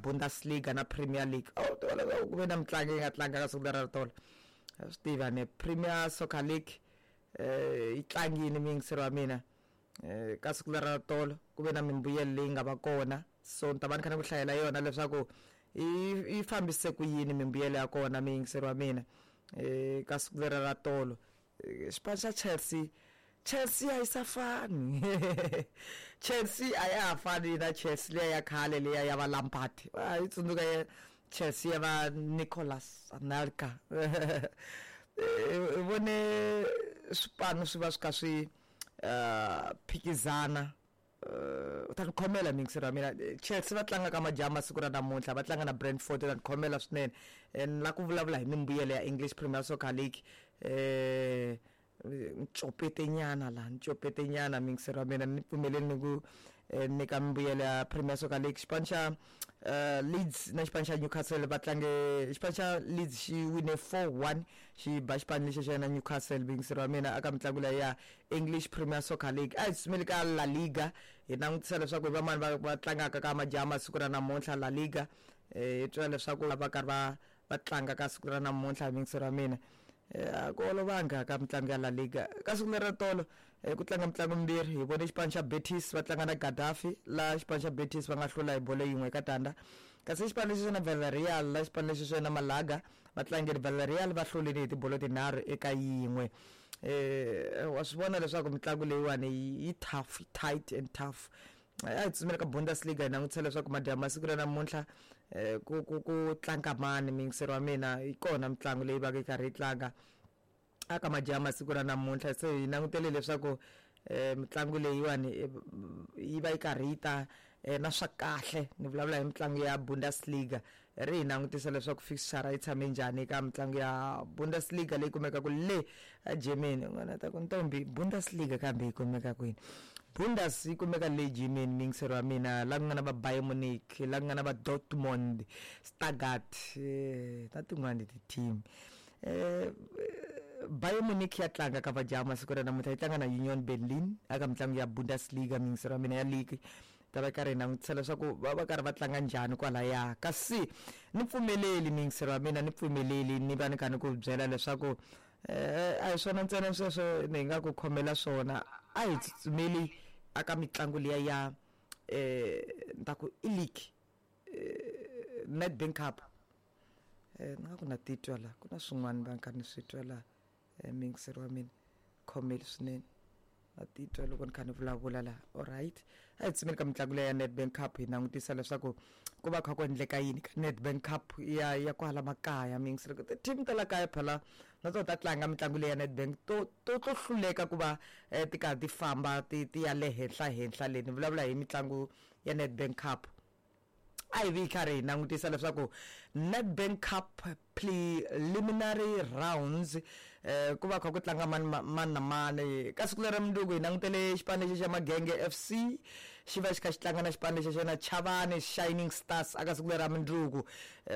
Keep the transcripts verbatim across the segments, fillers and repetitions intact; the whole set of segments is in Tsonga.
Bundesliga na Premier League. Oh, ku ve na mitlangu yi nga tlanga ka siku leri ra tolo. Swi tiva ne Premier Soccer League eh yi tlangini muyingiseri wa mina eh ka siku leri ra tolo ku ve na mimbuyelo leyi nga va kona. So ni ta va ni kha ni ku hlayela yona leswaku yi yi fambise ku yini mimbuyelo ya kona muyingiseri wa mina eh ka siku leri ra tolo. Xipano xa Chelsea, Chelsea a yi sa fani. Chelsea a ya ha fani na Chelsea liya ya khale liya ya va Lampard. A yi tsundzuka ya Chelsea ya va Nicolas Anelka. Hi vone swipano swi va swi kha swi phikizana. U ta ni khomela muyingiseri wa mina. Chelsea va tlanga ka madyambu siku ra namuntlha, va tlanga na Brentford. U ta ni khomela swinene. Ni lava ku vulavula hi mimbuyelo ya English Premier Soccer League. Eh ncopete nyana laha, ncopete nyana muyingiseri wa mina, ni pfumeleli ni ku nyika mimbuyelo ya Premier Soccer League. Xipano xa Leeds na xipano xa Newcastle va tlange, xipano xa Leeds xi wine four one xi ba xipano lexi xa na Newcastle muyingiseri wa mina aka mitlangu leyi ya English Premier Soccer League. A hi tsutsumeli ka La Liga hi langutisa leswaku hi vamani va va tlangaka ka madyambu siku ra namuntlha La Liga. Hi twa leswaku va karhi va va tlanga ka siku ra namuntlha muyingiseri wa mina. A ku olovanga ka mitlangu ya La Liga. Ka siku leri ra tolo ku tlanga mitlangu mimbirhi, hi vone xipano xa Betis va tlanga na Gaddafi, laha xipano xa Betis va nga hlula hi bolo yin'we eka tandza. Kasi xipano lexi xa na Villarreal, laha xipano lexi xa na Malaga va tlangile, Villarreal va hlurile hi tibolo tinharhu eka yin'we. Eh wa swi vona leswaku mitlangu leyiwani yi tough, tight and tough. A hi tsutsumela ka Bundesliga hi langutisa leswaku madyambu masiku ra namuntlha ku ku ku tlanga mani muyingiseri wa mina. Yi kona mitlangu leyi va ka yi karhi yi tlanga aka madyambu masiku ra namuntlha. Se hi langutele leswaku mitlangu leyiwani yi va yi karhi yi ta na swa kahle. Ni vulavula hi mitlangu ya Bundesliga, ri hi langutisa leswaku fixture yi tshame njhani eka mitlangu ya Bundesliga leyi kumekaka le Germany. N'wana ta ku ntombi Bundesliga kambe yi kumeka kwini? Bundes yi kumeka le Germany muyingiseri wa mina, la ku nga na va Bayern Munich, la ku nga na va Dortmund, Stuttgart na tin'wani ti-team. Eh Bayern Munich ya tlanga ka madyambu masiku ra namuntlha, yi tlanga na Union Berlin aka mitlangu ya Bundesliga muyingiseri wa mina ya league. Ta va karhi hi langutisa leswaku va va karhi va tlanga njhani kwalaya. Kasi ni pfumeleli muyingiseri wa mina, ni pfumeleli ni va ni kha ni ku byela leswaku eh a hi swona ntsena sweswo ni nga ku khomela swona. A hi tsutsumeli aka mitlangu liya ya eh ni ta ku i league, eh Nedbank Cup. Eh ni nga ku na titwa la ku na swin'wana va kha ni swi twa la muyingiseri wa mina, khomeli swinene na titwa loko ni kha ni vulavula la. Alright, a hi tsutsumeli ka mitlangu leyi ya Nedbank Cup hi langutisa leswaku ku va kha ku endleka yini ka Nedbank Cup ya ya kwala makaya muyingiseri. Ti-team ta la kaya phela na tona ta tlanga mitlangu leyi ya Nedbank to to to hluleka ku va ti karhi ti famba ti ti ya le henhla henhla le. Ni vulavula hi mitlangu ya Nedbank Cup. A hi vi karhi hi langutisa leswaku Nedbank Cup preliminary rounds eh ku va kha ku tlanga mani mani na mani ka siku leri mundzuku. Hi langutele xipano lexi xa Magenge F C xi va xi kha xi tlanga na xipano lexi xa na Chavani Shining Stars aka siku leri ra mundzuku.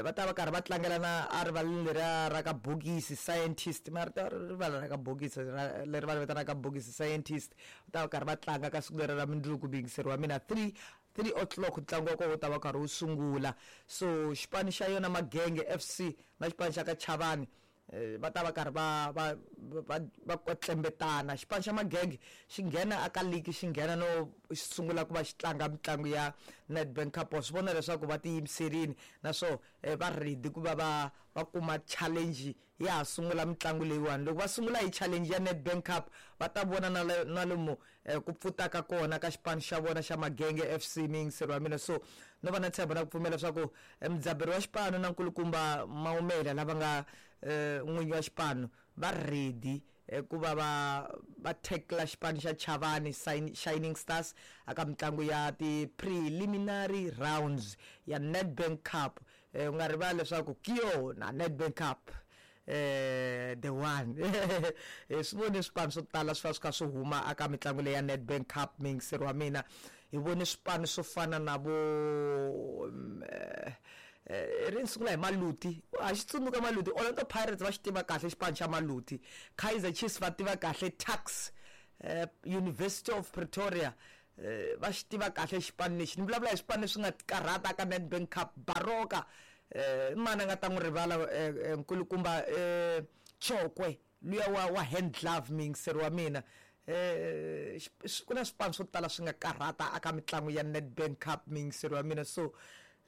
Va ta va karhi va tlangela na a rivaleni leriya ra ka Bokisi Scientist, mara rivala ra ka Bokisi leri va ri vitanaka Bokisi Scientist. Va ta va karhi va tlanga ka siku leri ra mundzuku muyingiseri wa mina three three o'clock ntlangu wa kona wu ta va karhi wu sungula. So xipano xa yona Magenge F C na xipano xa ka Chavani va ta va karhi va va va va kwetlembetana. Xipano xa Magenge xi nghena aka league, xi nghena no sungula ku va xi tlanga mitlangu ya Nedbank Cup. Wa swi vona leswaku va tiyimiserile naswona va ready ku va va va kuma challenge ya ha sungula mitlangu leyiwani. Loko va sungula hi challenge ya Nedbank Cup va ta vona na na lomu ku pfutaka kona ka xipano xa vona xa Magenge F C muyingiseri wa mina. So no va na ntshembo na ku pfumela leswaku mudzaberi wa xipano na nkulukumba Maumela lava nga n'winyi wa xipano va ready ku va va va tackle xipano xa Chavani Shining Stars aka mitlangu ya ti-preliminary rounds ya Nedbank Cup. U nga rivali leswaku ki yona Nedbank Cup eh the one. Swi vone swipano swo tala swi va swi kha swi huma aka mitlangu leyi ya Nedbank Cup muyingiseri wa mina. Hi vone swipano swo fana na vo eh ri sungula hi Maluti, a xi tsundzuka Maluti. Orlando Pirates va xi tiva kahle xipano xa Maluti, Kaizer Chiefs va tiva kahle Tuks, University of Pretoria eh, va xi tiva kahle xipano lexi. Ni vulavula hi swipano leswi nga karhata ka Nedbank Cup. Baroka eh, mani a nga ta n'wi rivala eh, eh, nkulukumba eh, Chokwe luya wa, wa hand glove miyingiseri wa mina. Eh, ku na swipano swo tala swi nga karhata aka mitlangu ya Nedbank Cup miyingiseri wa mina. So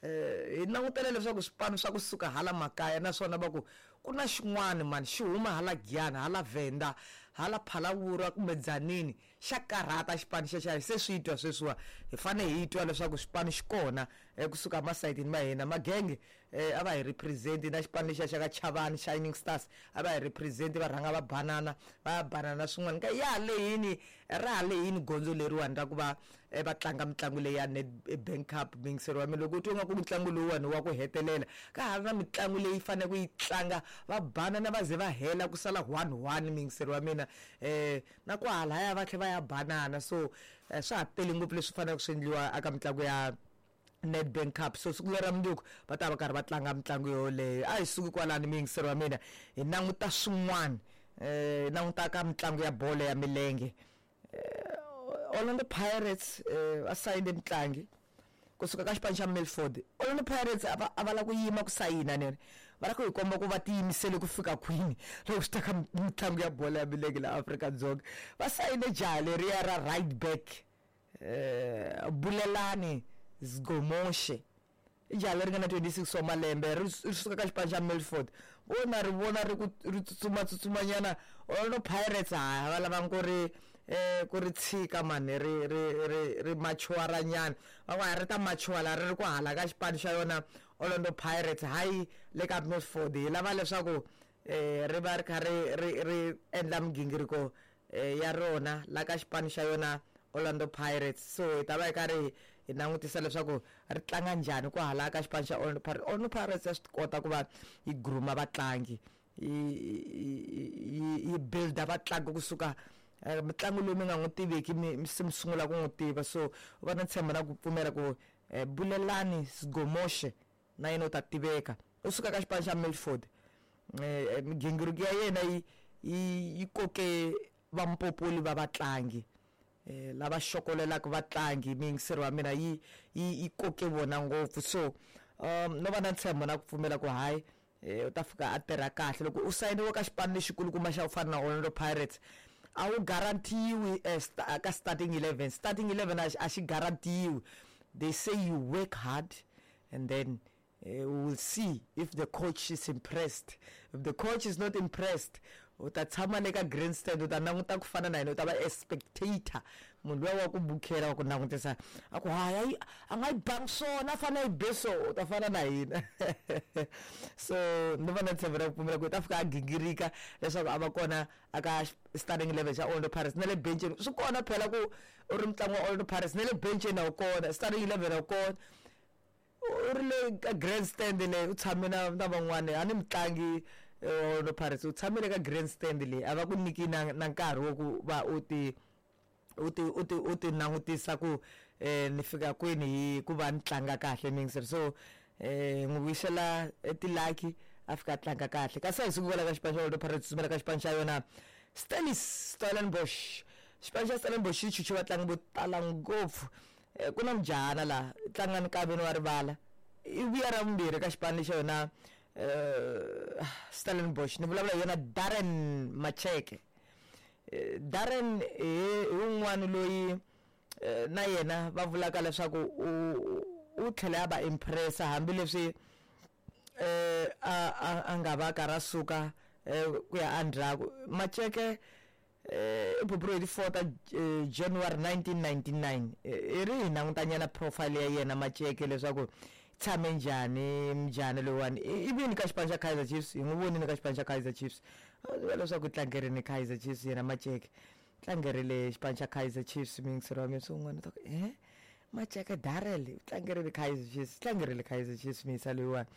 eh, hi langutele leswaku swipano swa kusuka hala makaya naswona va ku ku na xin'wana mani xi huma hala Giyani, hala Venda, hala Phalaborwa kumbe Dzanini, xa karhata xipano xexo. Se swi twa sweswiwa, hi fanele hi twa leswaku xipano xi kona kusuka masayitini ma hina. Magenge eh, a va hi represent na xipano lexiya xa ka Chavani Shining Stars, a va hi represent, va rhanga va banana va ya banana swin'wana ka ya lehini ra ha lehini gondzo leriwani ra ku va va tlanga mitlangu leyi ya Nedbank Cup miyingiseri wa mina. Loko u twa nga ku mitlangu lowuwani wa ku hetelela, ka ha ri na mitlangu leyi faneleke ku yi tlanga va banana va ze va hela ku sala one one miyingiseri wa mina. Eh na kwahalaya va tlhela va ya banana. So swa ha tele ngopfu leswi faneleke swi endliwa eka mitlangu ya Nedbank Cup. So siku lera mundzuku va ta va karhi va tlanga mitlangu yoleyo. A hi suki kwalani miyingiseri wa mina, hi languta swin'wana, eh hi languta ka mitlangu ya bolo ya milenge. Orlando Pirates va sayine mutlangi kusuka ka xipano xa Milford. Orlando Pirates a va a va lava ku yima ku sayina nene, va lava ku hi komba ku va tiyimisele ku fika kwini loko swi ta ka mitlangu ya bolo ya milenge laha Afrika-Dzonga. Va sayine jaha leriya ra right back eh Bulelani Zgomoshe, i jaha leri nga na twenty-six wa malembe, ri suka ka xipano xa Milford. Vona ri vona ri ku ri tsutsuma tsutsumanyana. Orlando Pirates ha va lavanga ku ri eh ku ri tshika mani ri ri ri ri machuaranyana, va ku a ri ta machuala ri ri ku hala ka xipano xa yona Orlando Pirates, hayi le ka Milford. Hi lava leswaku eh ri va ri kha ri ri ri endla migingiriko ya rona la ka xipano xa yona Orlando Pirates. So hi ta va hi karhi hi langutisa leswaku ri tlanga njhani ku hala ka xipano xa Orlando Pirates. Orlando Pirates ya swi kota ku va yi grooma vatlangi, yi yi builda vatlangi kusuka mitlangu loyi mi nga n'wi tiveki mi se mi sungula ku n'wi tiva. So va na ntshembo na ku pfumela ku Bulelani Zgomoshe na yena u ta tiveka, u suka ka xipano xa Milford. Migingiriko ya yena yi yi koke vampopoli va vatlangi lava xokolelaka vatlangi miyingiseri wa mina, yi yi koke vona ngopfu. So um no va na ntshembo na ku pfumela ku hayi u ta fika a tirha kahle. Loko u sayiniwe ka xipano lexikulukumba xa ku fana na Orlando Pirates, a wu guaranteeiwi ka starting eleven. Starting eleven a xi guaranteeiwi. They say you work hard and then uh, we will see if the coach is impressed. If the coach is not impressed, u ta tshama le ka grandstand, u ta languta ku fana na yena, u ta va a spectator, munhu luya wa ku bukhela wa ku langutisa a ku hayi a nga yi bangi swona, a fanele a yi be so, u ta fana na hina. So ni va na ntshembo ra ku pfumela ku u ta fika a gingirika leswaku a va kona aka starting eleven xa Orlando Pirates. Na le benceni swi kona phela ku u ri mutlangi wa Orlando Pirates, na le benceni a wu kona, starting eleven a wu kona, u ri le ka grandstand leyi u tshame na na van'wani. A ni mutlangi Orlando Pirates, u tshamile ka grandstand leyi, a va ku nyiki na na nkarhi wo ku va u ti u ti u ti u ti langutisa ku eh ni fika kwini hi ku va ni tlanga kahle miyingiseri. So eh n'wi vuyisela tilaki a fika a tlanga kahle. Kasi a hi suki kwala ka xipano xa Orlando Pirates, tsutsumela ka xipano xa yona Stellies Stellenbosch. Xipano xa Stellenbosch xi chuche vatlangi vo tala ngopfu. Ku na mujahana laha tlanga nkaveni wa rivala, i vuya ra vumbirhi ka xipano xa yona Uh, Stellenbosch. Ni vulavula hi yona Darren Macheke. Uh, Darren hi wun'wani loyi uh, na yena va vulaka leswaku u tlhela a va impressa hambileswi uh, a, a, a nga va karhi a suka uh, ku ya endzhaku. Macheke i buburiwe hi ti four ta January nineteen ninety-nine. I ri hi langutanyana profile ya yena Macheke leswaku tshame njhani mjhani loyiwani. I vini ka xipano xa Kaizer Chiefs, hi n'wi vonile ka xipano xa Kaizer Chiefs leswaku tlangerini Kaizer Chiefs yena Macheke, tlangerile xipano xa Kaizer Chiefs miyingiseri wa mina. So un'wana u ta ku eh Macheke Darrell u tlangerile Kaizer Chiefs, tlangerile Kaizer Chiefs miyisa loyiwani.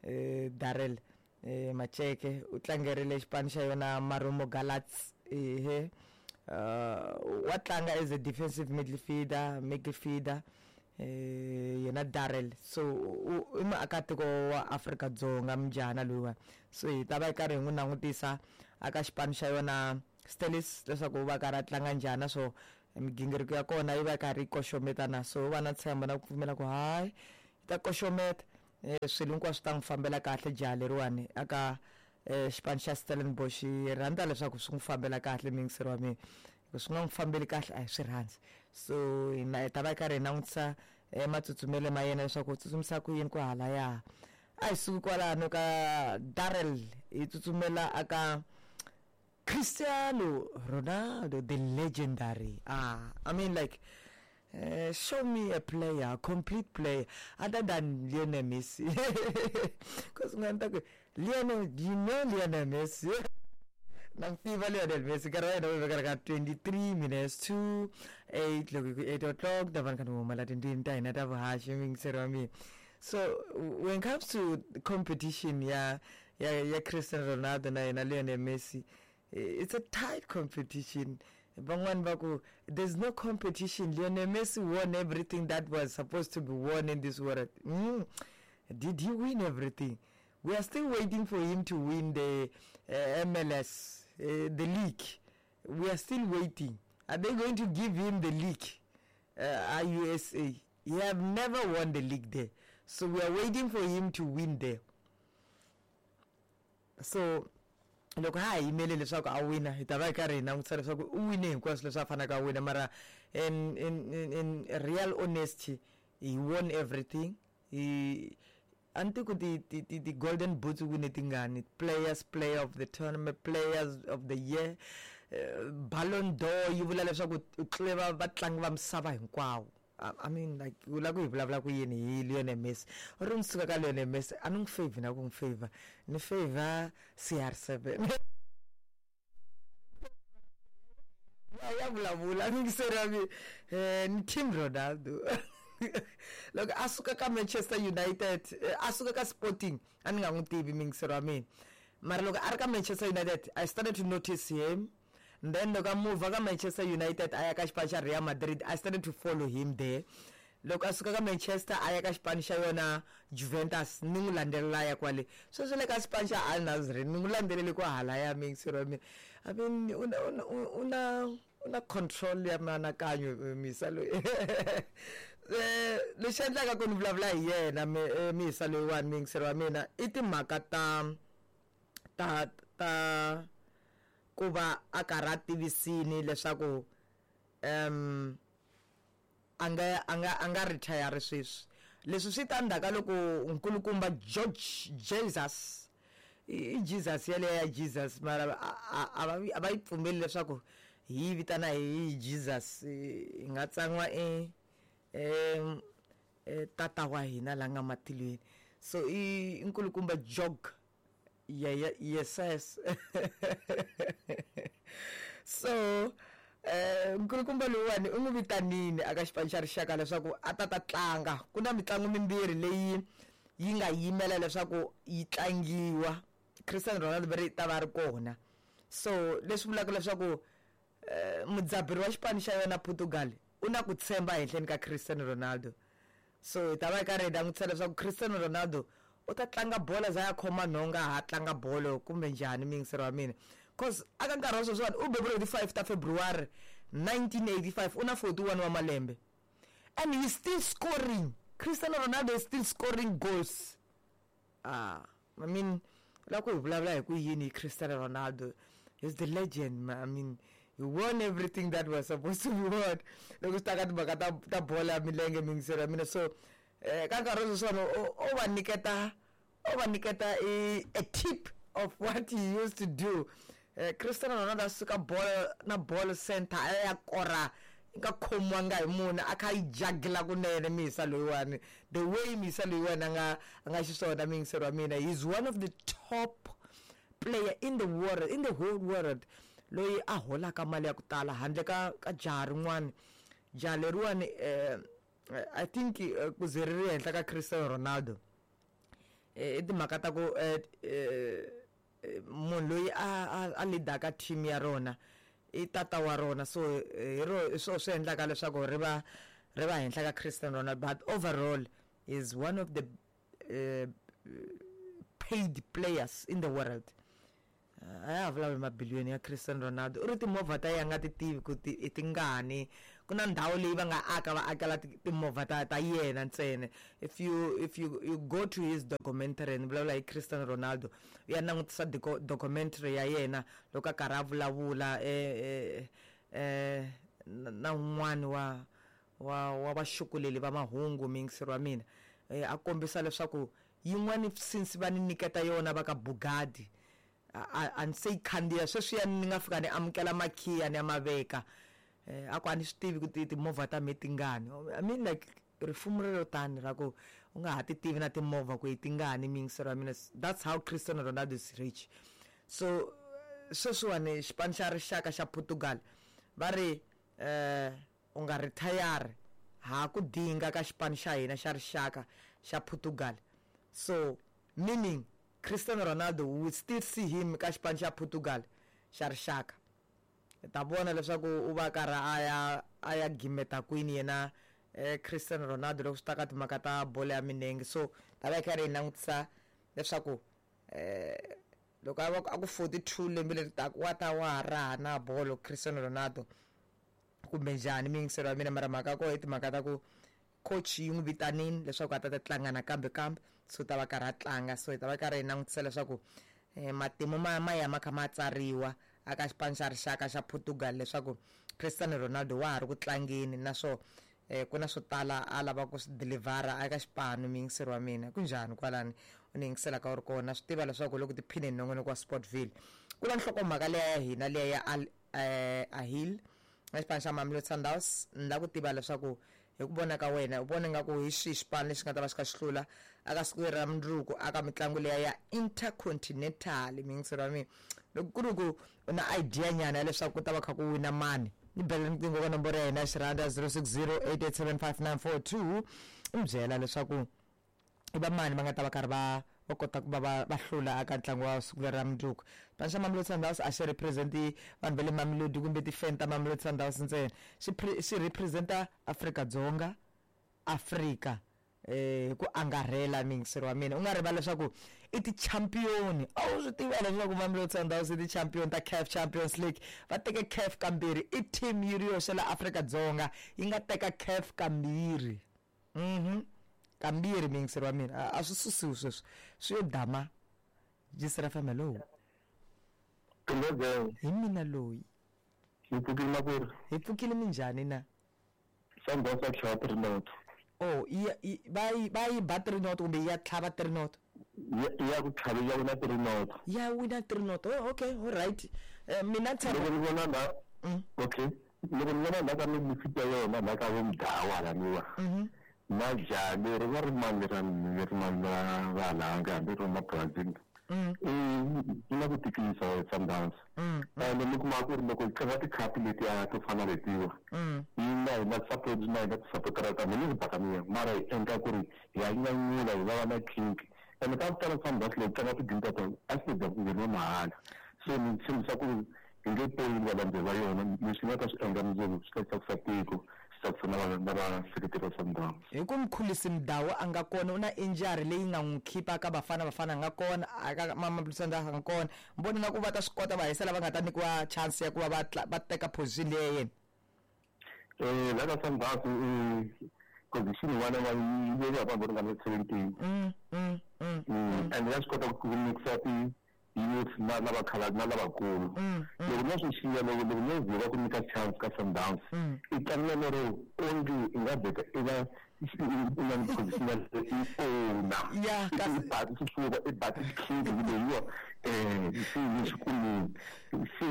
Eh Darrell eh Macheke u tlangerile xipano xa yona Marumo Gallants. Ehe wa tlanga as a defensive midfielder midfielder eh yena Darrell. So i muakatiko wa Afrika-Dzonga mujahana loyiwani. So hi ta va hi karhi hi n'wi langutisa aka xipano xa yona Stellies leswaku va karhi a tlanga njhani. So Migingiriko ya kona yi va yi karhi yi koxometana, so va na ntshembo na ku pfumela ku hayi yi ta koxometa, swilo hinkwaswo swi ta n'wi fambela kahle jaha leriwani aka xipano xa Stellenbosch. Hi rhandza leswaku swi n'wi fambela kahle muyingiseri wa mina, loko swi nga n'wi fambeli kahle a hi swi rhandzi. So hina hi ta va hi karhi hi langutisa matsutsumelo ma yena leswaku u tsutsumisa ku yini ku halaya. A hi suki kwalano ka Darrell, hi tsutsumela aka Cristiano Ronaldo, the legendary. Ah, I mean, like, uh, show me a player, a complete player, other than Lionel Messi. Because Lionel, do you know Lionel Messi? Namfiva Lionel Messi, twenty-three minutes to eight, look, eight o'clock, the one can So when it comes to competition, yeah, yeah, yeah, Cristiano Ronaldo na Lionel Messi, it's a tight competition. There's no competition. Lionel Messi won everything that was supposed to be won in this world. Mm. Did he win everything? We are still waiting for him to win the uh, M L S, uh, the league. We are still waiting. Are they going to give him the league? Uh, U S A. He have never won the league there. So we are waiting for him to win there. So loko ha yimele leswaku a wina, hi ta va hi karhi hi langutisa leswaku u wine hinkwaswo leswi a faneleke a wina, mara in in in, in real honesty, he won everything. He antiku ti ti ti, ti golden boots wine tingani, players player of the tournament, players of the year, uh, Ballon d'Or yi vula leswaku u tlule vatlangi va misava hinkwawo. I mean, like, u lava ku hi vulavula ku yini hi Lionel Messi? Ri ni suka ka Lionel Messi, a ni n'wi favor na ku n'wi favor, ni favor C R seven. Ya vulavula ni ngiseri eh ni Team Ronaldo. Loko a suka ka Manchester United, a suka ka Sporting, a ni nga n'wi tivi mingiseri wa mina. Mara loko a ri ka Manchester United, I started to notice him. And then loko a move ka Manchester United a ya ka xipano xa Real Madrid, I started to follow him there. Loko a suka ka Manchester a ya ka xipano xa yona Juventus, ni n'wi landzelela ya kwale. Sweswi le ka xipano xa Al Nassr, ni n'wi landzelele ku halaya mingiseri wa mina. I mean, una una una control ya mianakanyo misa loyi. Lexi endlaka ku ni vulavula hi yena misa loyiwani mingiseri wa mina i timhaka ta ta ta ku va a karhi a tivisini leswaku um a nga a nga a nga retire sweswi. Leswi swi ta ndzhaku ka loko nkulukumba George Jesus, i Jesus yaleyo ya Jesus, mara a va a va yi pfumeli leswaku hi yi vitana hi Jesus, hi nga tsan'wa e e tata wa hina la nga matilweni. So i nkulukumba George. Yeah, yeah, yes, yes. So, nkulukumba loyiwani u n'wi vitanini aka xipano xa rixaka leswaku a ta ta tlanga. Ku na mitlangu mimbirhi leyi yi nga yimela leswaku yi tlangiwa, Cristiano Ronaldo va ri ta va ri kona. So leswi vulaka leswaku mudzaberi wa xipano xa yona Portugal u na ku tshemba ehenhleni ka Cristiano Ronaldo. So hi ta va hi karhi hi langutisa leswaku Cristiano Ronaldo u ta tlanga bolo za ya khoma nhonga ha tlanga bolo kumbe njhani mingiseri wa mina. Cause aka nkarhi wa sweswiwani u beburiwe hi ti-five ta February nineteen eighty-five, u na forty-one wa malembe and he's still scoring. Cristiano Ronaldo is still scoring goals. Ah, I mean, loko hi vulavula hi ku yini hi Cristiano Ronaldo, he's the legend, man. I mean, he won everything that was supposed to be won. Loko swi ta ka timhaka ta ta bolo ya milenge mingiseri wa mina. So ka nkarhi wa sweswiwani o va nyiketa o va nyiketa a tip of what he used to do. Cristiano Ronaldo a suka bolo na ball center a ya kora nga khomiwanga hi munhu a kha yi jagila kunene misa loyiwani. The way misa loyiwani a nga a nga xiswona mingiseri wa mina, he's one of the top player in the world, in the whole world, loyi a holaka mali ya ku tala handle ka ka jaha rin'wana. Jaha leriwani eh I think ku ze ri ri henhla ka Cristiano Ronaldo i timhaka ta ku munhu loyi a a leadaka team ya rona i tata wa rona, so hi ro hi swona swi endlaka leswaku ri va ri va henhla ka Cristiano Ronaldo. But overall is one of the uh, paid players in the world. A ya ha vulavuli mabiliyoni ya Cristiano Ronaldo. U ri timovha ta yena a nga ti tivi ku ti i tingani. Ku na ndhawu leyi va nga aka va akela timovha ta ta yena ntsena. If you if you you go to his documentary, ni vulavula hi Cristiano Ronaldo, u ya langutisa documentary ya yena loko a karhi a vulavula eh eh na un'wani wa wa wa vaxukuleli va mahungu miyingiseri wa mina, a kombisa leswaku yin'wani since va ni nyiketa yona va ka Bugatti a a ni se yi khandziya sweswiya ni nga fika ni amukela makhiya ni ya ma veka, a ku a ni swi tivi ku timovha ta me tingani. I mean like rifumo rero tani ra ku u nga ha ti tivi na timovha ku i tingani miyingiseri wa mina. That's how Cristiano Ronaldo is rich. So sweswiwani xipano xa rixaka xa Portugal va ri eh u nga retire ha ku dinga ka xipano xa hina xa rixaka xa Portugal. So meaning Cristiano Ronaldo, we will still see him ka xipano xa Portugal xa rixaka. Ta vona leswaku u va karhi a ya a ya gimeta kwini yena eh, Cristiano Ronaldo loko swi ta ka timhaka ta bolo ya milenge. So ta va yi karhi yi langutisa leswaku eh loko a va a ku forty-two lembe leri taka wa ta wa ha raha na bolo Cristiano Ronaldo kumbe njhani miyingiselo ya mina. Mara mhaka ko i timhaka ta ku coach yi n'wi vitanini leswaku a ta ta tlanga nakambe kambe, so ta va karhi a tlanga. So hi ta va karhi hi langutisa leswaku eh, matimu ma ma ya ma kha ma tsariwa aka xipano xa rixaka xa Portugal leswaku Cristiano Ronaldo wa ha ri ku tlangeni, naswo eh, ku na swo tala a lava ku swi delivera eka xipano miyingiseri wa mina. Ku njhani kwalani u ni yingisela ka u ri kona, swi tiva leswaku loko tiphineni nongonoko wa Sportville. Ku na nhlokomhaka leya ya hina leya ya Al eh, Ahil na xipano xa Mamelodi Sundowns. Ni lava ku tiva leswaku hi ku vona ka wena u vona nga ku hi xihi xipano lexi nga ta va xi kha xi hlula aka siku leri ra mundzuku aka mitlangu leya ya Intercontinental miyingiseri wa mina. Loko ku ri ku u na idea nyana ya leswaku ku ta va kha ku wina mani, ni bela riqingho ka nomboro ya hina ya xirhanda zero six zero eight eight seven five nine four two, u mi byela leswaku i va mani va nga ta va karhi va va kota ku va va va hlula aka ntlangu wa siku leri ra mundzuku. Xipano xa Mamelodi Sundowns a xi represent-i vanhu va le Mamelodi kumbe ti-fan ta Mamelodi Sundowns ntsena, xi xi represent-a Afrika-Dzonga, Afrika eh hi ku angarhela miyingiseri wa mina. U nga rivali leswaku i ti-champion, a wu swi tiva leswaku Mamelodi Sundowns i ti-champion ta CAF Champions League. Va teke CAF kambirhi, i team yi ri yoxe la Afrika-Dzonga yi nga teka CAF kambirhi. Mhm kambirhi miyingiseri wa mina, a swi susiwi sweswo swi yo dama. Jisira fm, hello. Hi mina loyi. Hi pfukile makwerhu. Hi pfukile, minjhani na? Sundowns ya tlhava three not. Oh, yi va yi va yi ba three not kumbe ya tlhava three not? Ya ku tlhava ya wina three not. Ya wina three not. Oh, okay, all right. Eh, mina tshemba loko ni vona la, okay, loko ni vona la ka mifita ya yona la ka vo Mdawa halaniwa na njhani ri va ri mani ra ri mani ra va halanga hambi ri ma Brazil, i na ku tikisa Sundowns. Ende mi kuma ku ri loko yi tlanga tikhapu letiya to fana letiwa, yi na hi na support na hina ti-supportera ta mina ni Buccaneer, mara hi endla ku ri hi ya nyanyula hi va na kink. Ende ka ku tala Sundowns loko tlanga ti-game ta tona a swi ta ku ngheniwa mahala. So ni tshembisa ku hi nge peli valandzeri va yona, leswi nga ta swi endla mundzuku swi ta tsakisa tiko, swi tsakisa na na vaseketeri va Sundowns. Hi ku Mkhulisi Mdawu a nga kona, u na injury leyi nga n'wi khipa ka Bafana Bafana a nga kona, aka Mamelodi Sundowns a nga kona. Mi vona nga ku va ta swi kota va hisela va nga ta nyikiwa chance ya ku va va va teka position leya yena? Eh, la ka Sundowns position yin'wana va yi veka vanhu vo ringana seventeen. Mm, mm, mm, And ya swi kota ku mixa ti youth na lava khala na lavakulu. Loko no swi xiya loko loko no ze va ku nyika chance ka Sundowns, i tlangela lero onge i nga vheta i va i na position ya i owner. Ya, i ba xifuva i ba xikhindi leyiwa eh xi xikuluni. Se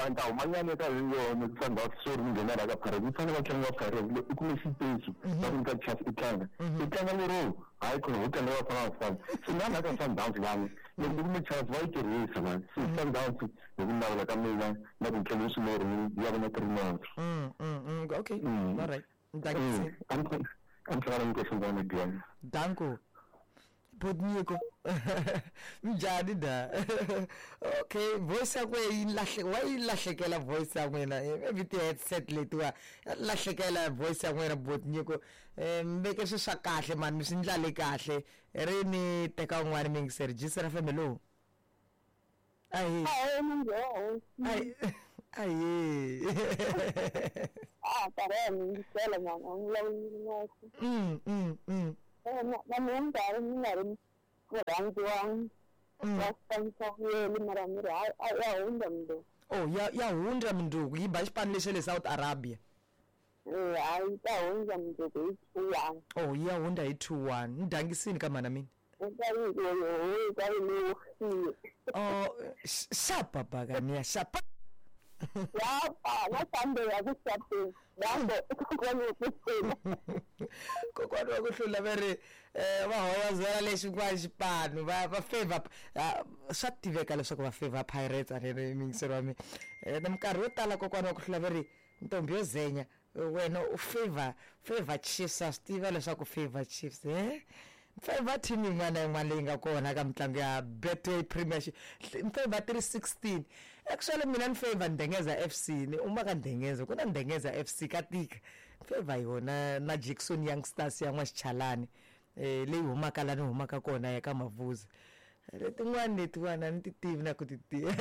nta humanyana ka yona Sundowns swo ri nghena la ka Pirates, yi fanele va tlanga Pirates i kume xipetsu va ku nyika chance i tlanga, i tlanga lero hayi khona ho tlanga Bafana Bafana. Se na la ka Sundowns lani loko ku kume chance va yi tirhisa mani. Se Sundowns hi ku navela ka mina na ku tlanga swilero ya vona three not. Mm, mm, okay, all right. Dankie. I'm trying to go to the Danko. Bodnyiko. Njhani da? Okay, voice ya n'wina yi lahle wa yi lahlekela voice ya n'wina. Maybe ti-headset letiwa lahlekela voice ya n'wina Bodnyiko. Eh mi veke swi swa kahle mani, mi swi ndlale kahle. Ri ni teka un'wana miyingiseri. Jisira F M, hello. Ahi. Ahe munjhani? Ahi. Ahi. Ah, karela mi yingisela mama, a ni vulavuli ngopfu. Mm mm mm. Na mina ni karhi ni nga ri murhandzi wa wa xipano xa vuyelo mara ni ri hayi ya hundza mundzuku. Oh, ya ya hundza mundzuku yi ba xipano lexi le South Arabia. Eh, hayi yi ta hundza mundzuku hi two one. Oh, yi ya hundza hi two one. Ni dangisini ka mhana mina. Oh, xapa bakaniya xapa. Yapa, na Sunday ya ku xapeni. Yambo, kokwani wa ku hlula. Kokwani wa ku hlula va ri eh va hoyozela lexi kwa xipano va va favor swa tiveka leswaku va favor Pirates a ri mingisero wa mina. Eh na minkarhi yo tala kokwani wa ku hlula va ri ntombi yo zenya wena u favor favor Chiefs a swi tiva leswaku favor Chiefs eh favor team yin'wana na yin'wana leyi nga kona ka mitlangu ya Betway Premiership favor three sixteen actually mina ni favor Ndengeza F C ni uma ka Ndengeza ku na Ndengeza F C ka tika favor yona na Jackson Youngsters ya N'waxichalani eh leyi humaka la ni humaka kona ya ka Mavuzi letin'wana letiwana ni ti tivi na ku ti tiva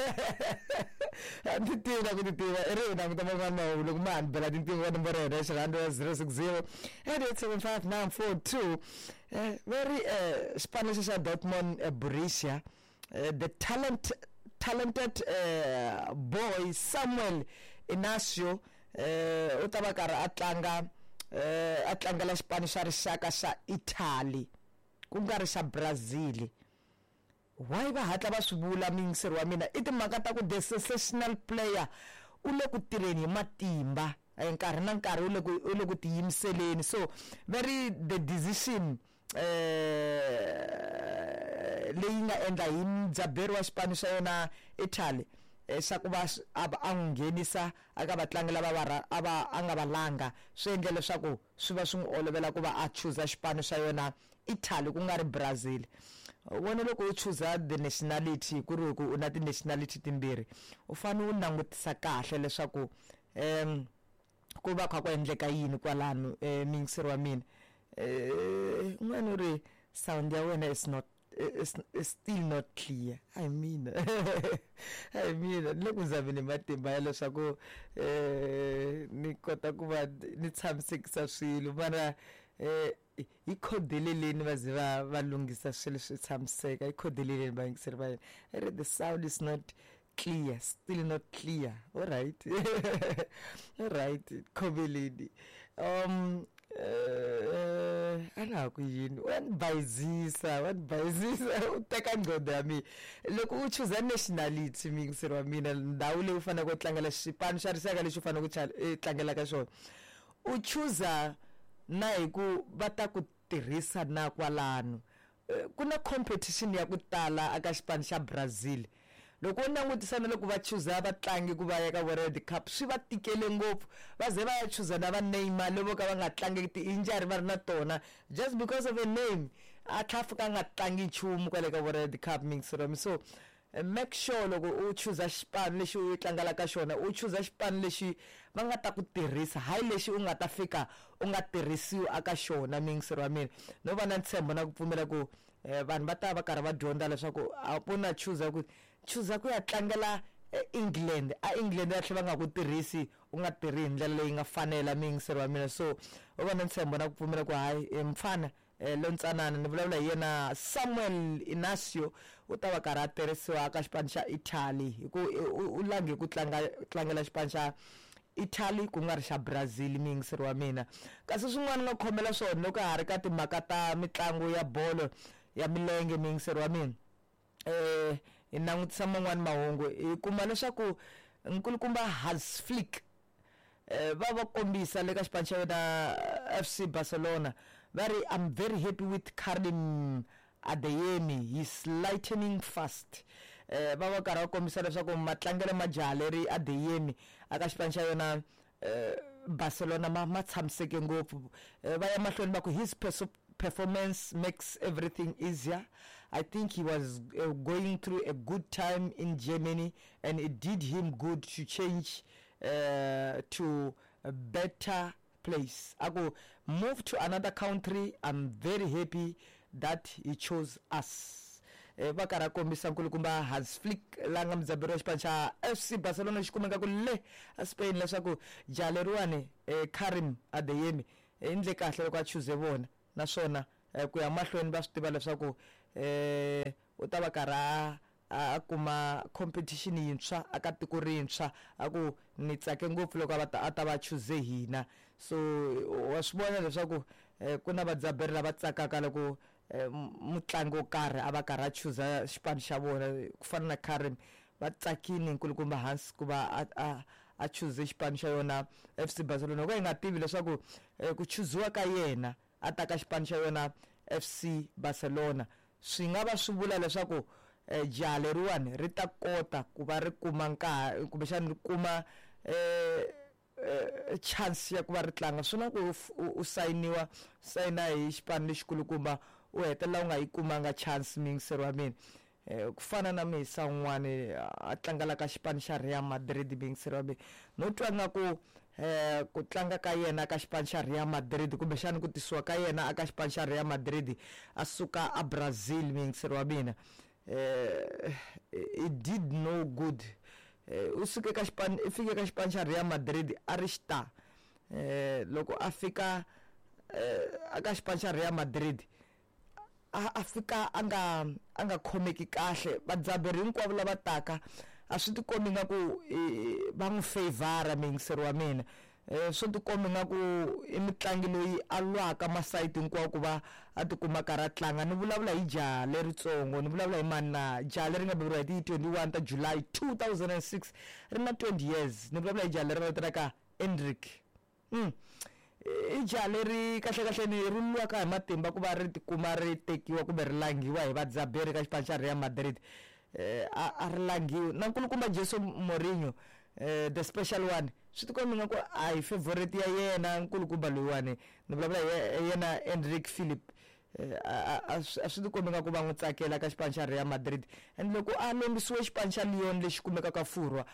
a ni ti tivi na ku ti tiva i ri hi languta man'wana mahungu loko ma ha ni bela tinqingho ka nomboro ya hina ya xirhando ya zero six zero eight eight seven five nine four two eh va ri eh xipano lexi xa Dortmund Borussia the talent talented uh, boy Samuel Inacio eh u ta va karhi a tlanga eh a tlangela xipano xa rixaka xa Italy ku nga ri xa Brazil. Why va hatla va swi vula muyingiseri wa mina i timhaka ta ku the sensational player u le ku tirheni hi matimba nkarhi na nkarhi u le ku u le ku tiyimiseleni so very the decision eh leyi nga endla hi mudzaberi wa xipano xa yona Italy xa ku va a n'wi nghenisa aka vatlangi lava va a va a nga valanga swi endle leswaku swi va swi n'wi olovela ku va a chuza xipano xa yona Italy ku nga ri Brazil. Wona loko u chuza the nationality ku ri ku u na ti-nationality timbirhi u fanele u langutisa kahle leswaku um ku va kha ku endleka yini kwalano um muyingiseri wa mina um un'wana u ri sound ya wena is not is, is still not clear. I mean I mean ni le ku zameni matimba ya leswaku um ni kota ku va ni tshamisekisa swilo mara eh hi khodeleleni va ze va va lunghisa swilo swi tshamiseka hi khodeleleni vayingiseri va yena ri the sound is not clear still not clear all right all right khomeleni um eh a na ha ku yini wa ni bayizisa wa ni bayizisa u teka nqondo ya mina loko u chuza nationality muyingiseri wa mina ndhawu leyi u faneleke u tlangela xipano xa rixaka lexi u faneleke u tlangela ka xona u chuza na hi ku va ta ku tirhisa na kwalano ku na competition ya ku tala aka xipano xa Brazil loko u langutisa na loko va chuza vatlangi ku va ya ka World Cup swi va tikele ngopfu va ze va ya chuza na va Neymar lavo ka va nga tlangi ti-injury va ri na tona just because of a name a tlha fika a nga tlangi nchumu kwale ka World Cup mixerom so make sure loko u chuza xipano lexi u tlangelaka xona u chuza xipano lexi va nga ta ku tirhisa hayi lexi u nga ta fika u nga tirhisiwi aka xona muyingiseri wa mina no va na ntshembo na ku pfumela ku vanhu va ta va karhi va dyondza leswaku a ku na chuza ku chuza ku ya tlangela England a England va tlhela va nga ku tirhisi u nga tirhi hi ndlela leyi nga fanela muyingiseri wa mina so u va na ntshembo na ku pfumela ku hayi mfana lontsanana ni vulavula hi yena Samuel Inacio u ta va karhi a tirhisiwa ka xipano xa Italy hi ku u lange ku tlanga tlangela xipano xa Italy ku nga ri xa Brazil muyingiseri wa mina kasi swin'wana nga khomela swona loko ha ri ka timhaka ta mitlangu ya bolo ya milenge muyingiseri wa mina eh hi langutisa man'wani mahungu hi kuma leswaku nkulukumba Hans Flick eh va va kombisa le ka xipano xa yena F C Barcelona va ri I'm very happy with Karim Adeyemi he's lightening fast eh va va karhi va kombisa leswaku matlangelo ma jaha leri Adeyemi aka xipano xa yona Barcelona ma ma tshamiseke ngopfu va ya mahlweni va ku his performance makes everything easier. I think he was uh, going through a good time in Germany and it did him good to change uh, to a better place. I go move to another country. I'm very happy that he chose us. Va karhi a kombisa nkulukumba Hans Flick la nga mudzaberi wa xipano xa F C Barcelona xi kumeka ku le a Spain leswaku jaha leriwani Karim Adeyemi endle kahle loko a chuze vona naswona ku ya mahlweni va swi tiva leswaku eh u ta va karhi a kuma competition yintshwa aka tiko rintshwa a ku ni tsake ngopfu loko a ta a ta va chuze hina. So wa swi vona leswaku ku na vadzaberi lava tsakaka loko mutlangi wo karhi a va karhi a chuza xipano xa vona ku fana na Karim va tsakini nkulukumba Hans ku va a a a chuze xipano xa yona F C Barcelona loko hi nga tivi leswaku ku chuziwa ka yena a ta ka xipano xa yona F C Barcelona swi nga va swi vula leswaku jaha leriwani ri ta kota ku va ri kuma nkarhi kumbexana ri kuma eh chance ya ku va ri tlanga. Swi na ku u sayiniwa sayina hi xipano lexikulukumba u hetelela u nga yi kumanga chance miyingiseri wa mina ku fana na mihisa un'wani a tlangela ka xipano xa Real Madrid miyingiseri wa mina no twa nga ku eh ku tlanga ka yena ka xipano xa Real Madrid kumbexana ku tisiwa ka yena aka xipano xa Real Madrid a suka a Brazil miyingiseri wa mina eh it did no good. U suke ka xipano i fike ka xipano xa Real Madrid a ri star eh loko a fika aka xipano xa Real Madrid a a fika a nga a nga khomeki kahle vadzaberi hinkwavo lava taka a swi tikombi nga ku va n'wi favor miyingiseri wa mina swi tikombi nga ku i mutlangi loyi a lwaka masayiti hinkwawo ku va a tikuma karhi a tlanga. Ni vulavula hi jaha leritsongo ni vulavula hi mani na jaha leri nga beburiwa hi ti twenty-one ta July two thousand and six ri na twenty years ni vulavula hi jaha leri va vitanaka Endrick. Mm. I jaha leri kahle kahle ni ri lwaka hi matimba ku va ri tikuma ri tekiwa kumbe ri langiwa hi vadzaberi ka xipano xa Real Madrid eh a ri langiwi na nkulukumba Jose Mourinho eh the special one swi tikombi nga ku a hi favorite ya yena nkulukumba loyiwani ni vulavula hi yena Endrick Philip a swi tikombi nga ku va n'wi tsakela ka xipano xa Real Madrid and loko a lombisiwe xipano xa Lyon lexi kumekaka Furwa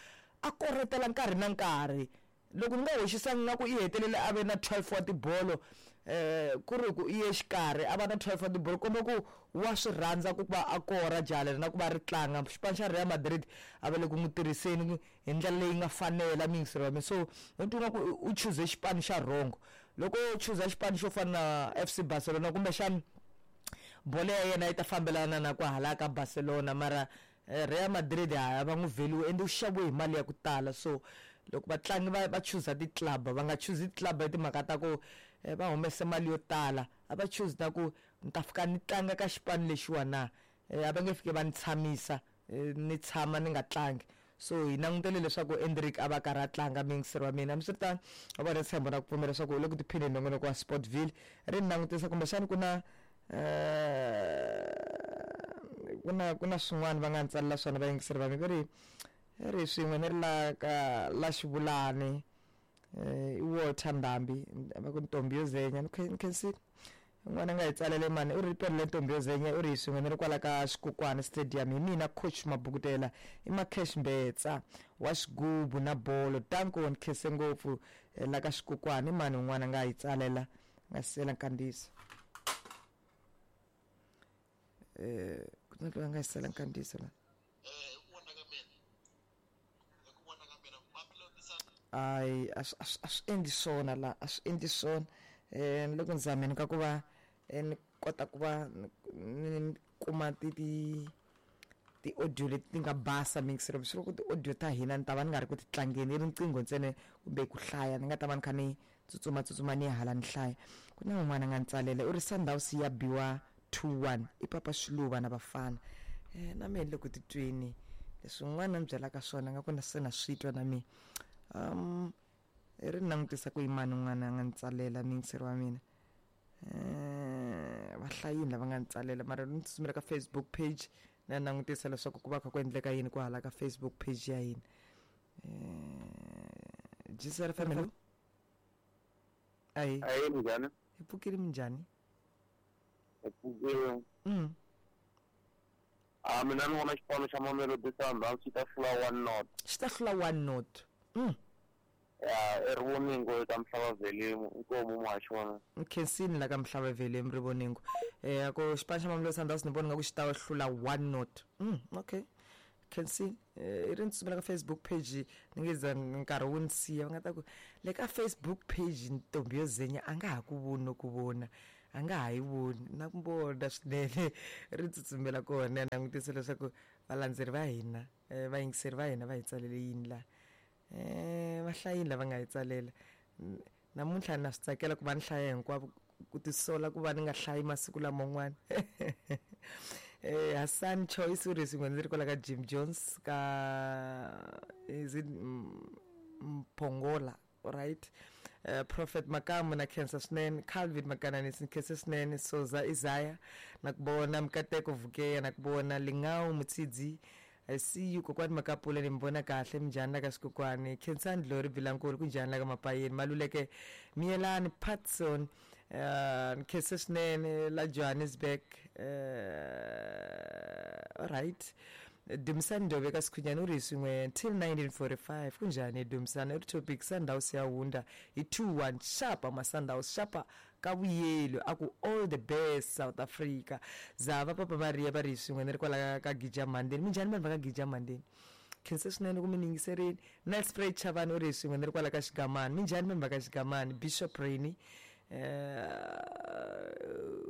a koretela nkarhi na nkarhi loko ni nga hoxisangi nga ku i hetelele a ve na twelve wa tibolo eh ku ri ku i ye xikarhi a va na twelve wa tibolo komba ku wa swi rhandza ku va a kora jaha leri na ku va ri tlanga xipano xa Real Madrid a va le ku n'wi tirhiseni hi ndlela leyi nga fanela miyingiseri wa mina. So ni twa nga ku u chuze xipano xa wrong loko u chuza xipano xo fana na F C Barcelona kumbexana bolo ya yena yi ta fambelana na ku hala ka Barcelona mara Real Madrid a va n'wi veliwe ende u xaviwe hi mali ya ku tala. So loko vatlangi va va chuza ti-club va nga chuzi ti-club hi timhaka ta ku va humese mali yo tala a va chuzi na ku ni ta fika ni tlanga ka xipano lexiwa na a va nge fiki va ni tshamisa ni tshama ni nga tlangi. So hi langutele leswaku Endrick a va karhi a tlanga miyingiseri wa mina. Hambiswiritano va vona ntshembo na ku pfumela leswaku u le ku tiphineni nongonoko wa Sportville ri ni langutisa kumbexana ku na ku na ku na swin'wana va nga ni tsalela swona vayingiseri va mina va ri ri swin'we ni ri la ka la Xivulani i Walter Ndambi va ku ntombi yo zenya ni khensile n'wana nga hi tsalele mani u ri perile ntombi yo zenya u ri hi swin'we ni ri kwala ka Xikukwani Stadium hi mina coach Mabukutela i Macash Mbetsa wa xigubu na bolo tanko ni khense ngopfu la ka Xikukwani mani un'wana nga hi tsalela nga siyela nkandziyiso eh ku na loyi a nga hi siyela nkandziyiso la ai a swi endli swona la a swi endli swona eh loko ni zameni ka ku va ni kota ku va ni kuma ti ti ti audio leti ti nga basa mixer swi loko ti audio ta hina ni ta va ni nga ri ku ti tlangeni i riqingho ntsena kumbe ku hlaya ni nga ta va ni kha ni tsutsuma tsutsuma ni hala ni hlaya. Ku na un'wana a nga ni tsalela u ri Sundowns ya biwa two one i Papa Xiluva na Bafana eh na mina loko titweni leswi un'wana a ni byelaka swona nga ku na se na swi twa na mina um ri langutisa ku yimani un'wana a nga ni tsalela miyingiseri wa mina eh va hlayini lava nga ni tsalela mara ni tsutsumela ka Facebook page na langutisa leswaku ku va kha ku endleka yini ku hala ka Facebook page ya hina eh G C R family ayi ayi minjhani hi pfukile minjhani hi pfukile mm a mina ni vona xipano xa Mamelodi Sundowns xi ta hlula one not xi ta hlula one not mm Ya erivoningo eka Mhlava-Velimu inkomu muhaxi wa mina. Nkhensini la ka Mhlava-Velimu rivoningo. Eh ko xipano xa Mamelodi Sundowns ni vona nga ku xi ta hlula one not. Mm, okay. Khensini i ri ni tsutsumela ka Facebook page ni nge za nkarhi wu ni siya va nga ta ku le ka Facebook page ntombi yo zenya a nga ha ku voni no ku vona a nga ha yi voni na ku vona swinene ri tsutsumela kona langutisa leswaku valandzeri va hina vayingiseri va hina va hi tsalele yini laha. Eh va hlayini lava nga hi tsalela namuntlha na swi tsakela ku va ni hlaya hinkwavo ku tisola ku va ni nga hlayi masiku laman'wana. Eh Hassan Choice u ri swin'we ndzi ri kwala ka Jim Jones ka is it Mpongola, right? Uh, Prophet Makamu na khensa swinene, Calvin Makananisi khensa swinene, Soza Isaiah na ku vona, Mkateko Vukeya na ku vona, Lingao Mutsidzi I see you kokwani Makapula ni mbona kahle minjhani la ka swikokwani, Khensani Dlori Bilankulu kunjhani la ka Mapayeni, Maluleke Miyelani Patson uh nkhensa swinene la Johannesburg. Uh, alright Dumisani Ndobe ka Sikhunyani u ri swin'we till nineteen forty-five kunjhani Dumisani? I ri topic Sundowns ya hundza hi two one xapa ma Sundowns xapa ka vuyelo a ku all the best South Africa. Zava Papa Maria va ri swin'we ni ri kwala ka Gija Mandeni. Minjhani vanhu va ka Gija Mandeni? Khensa swinene ku mi yingiserini. Nelspruit Chavani u ri swin'we ni ri kwala ka Xigamani. Minjhani vanhu va ka Xigamani? Bishop Rainy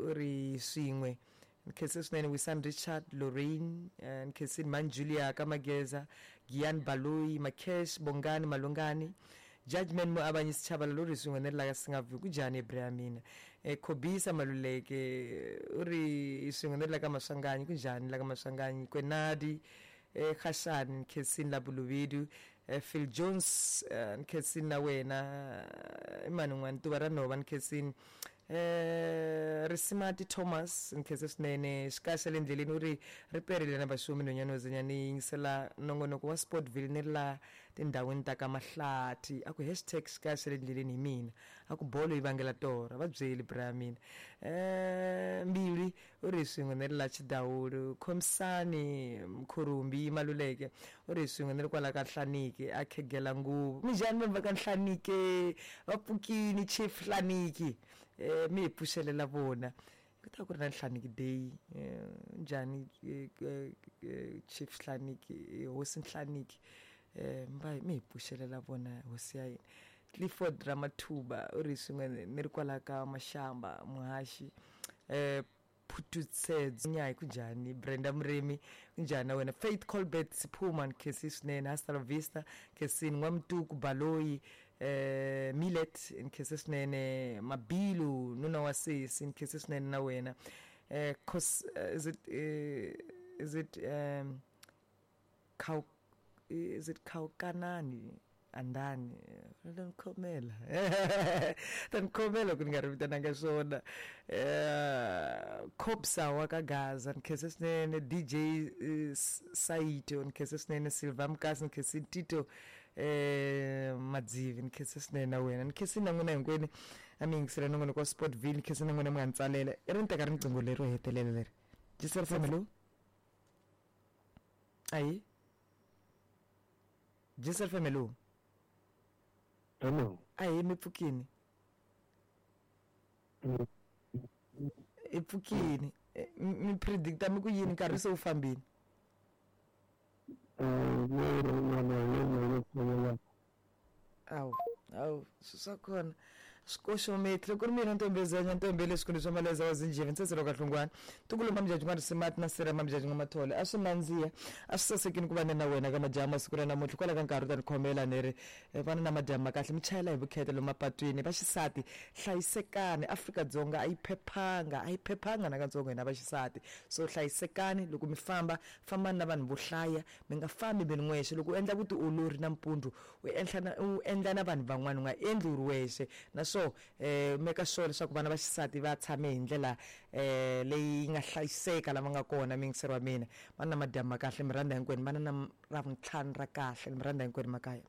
u ri swin'we nkhensa swinene Wisan Richard Lorraine nkhensini Manjulia ka Mageza Gian Baloyi Makesh Bongani Malungani Judgment mo abanyisi Chabalala lo ri swin'we ni ri la ka Singaview kunjhani Ibrahimina eh Khobisa Maluleke u ri swin'we ni ri la ka Maswanganyi kunjhani la ka Maswanganyi Kwenadi eh Khashani nkhensini la Bulubedu eh, Phil Jones nkhensini na wena imani n'wana tuva ra nhova nkhensini eh Risimati Thomas nkhensa swinene xikaxa le endleleni u ri ri perile na vaxumi nhonyana wo ni yingisela nongonoko wa Sportville ni ri la tindhawini ta ka Mahlathi a ku hashtag xikaxa le endleleni hi mina a ku bolo yi vangela torha va byeli bra mina. Eh Mbili u ri swin'we ni ri la Chidawulu Khomisani Mkhurumbi Maluleke u ri swin'we ni ri kwala ka Nhlaniki a khegela nguvu minjhani vanhu va ka Nhlaniki va pfukini Chief Nhlaniki eh mi hi pfuxelela vona ku ta ku ri na Nhlaniki day njhani Chief Nhlaniki hosi Nhlaniki eh mi hi pfuxelela vona hosi ya hina. Clifford Ramathuba u ri swin'we ni ri kwala ka Mashamba Muhaxi eh Phututsedzo Nyayi kunjhani Brenda Murimi kunjhani na wena Faith Colbert Siphuma nkhensi swinene Hasta la Vista nkhensini N'wamtuku Baloyi eh Millet nkhensi swinene Mabilu nuna wa sesi nkhensi swinene na wena eh cos is it uh, is it um Kau is it Kaukanani andani tankhomela tankhomela ku ni nga ri vitananga swona eh Khobsa wa ka Gaza nkhensa swinene D J Saito nkhensa swinene Silva Mkasi nkhensa Tito eh Madzivi nkhensa swinene na wena nkhensa na n'wina hinkwenu a mi yingisela nongonoko wa Sportville nkhensa na n'wina mi nga ni tsalela i ri ni teka riqingho leri ro hetelela leri Gisela Famelo ayi Gisela Famelo. Hello. Ayi mi pfukini. I pfukini. Mi predicta mi ku yini nkarhi se wu fambini? Awu, awu, swi kona. Swikoxometri loko ri mina ntombezanya ntombele swikundu swa maleza wa zinjhevi ntsetselo ka hlungwana tukulu mamjaji n'wa risimati na sira mamjaji n'wa mathole a swi nandziha a swi sasekini ku va ni na wena ka majaha masiku ra namuntlha kwala ka nkarhi u ta ni khomela ni ri vana na madyambu ma kahle mi chayela hi vukheta lomu mapatwini vaxisati hlayisekani Afrika-Dzonga a yi phephanga a yi phephanga nakatsongo hina vaxisati so hlayisekani loko mi famba fambani na vanhu vo hlaya mi nga fambi mi ri n'wexe loko u endla vutiolori nampundzu u endla na u endla na vanhu van'wana u nga endli u ri wexe naswo eh meka sure leswaku vana va xisati va tshame hi ndlela eh leyi nga hlayiseka lava nga kona mingiseri wa mina vana na madyambu ma kahle mi rhandza hinkwenu vana na ravuntlhanu ra kahle mi rhandza hinkwenu makaya.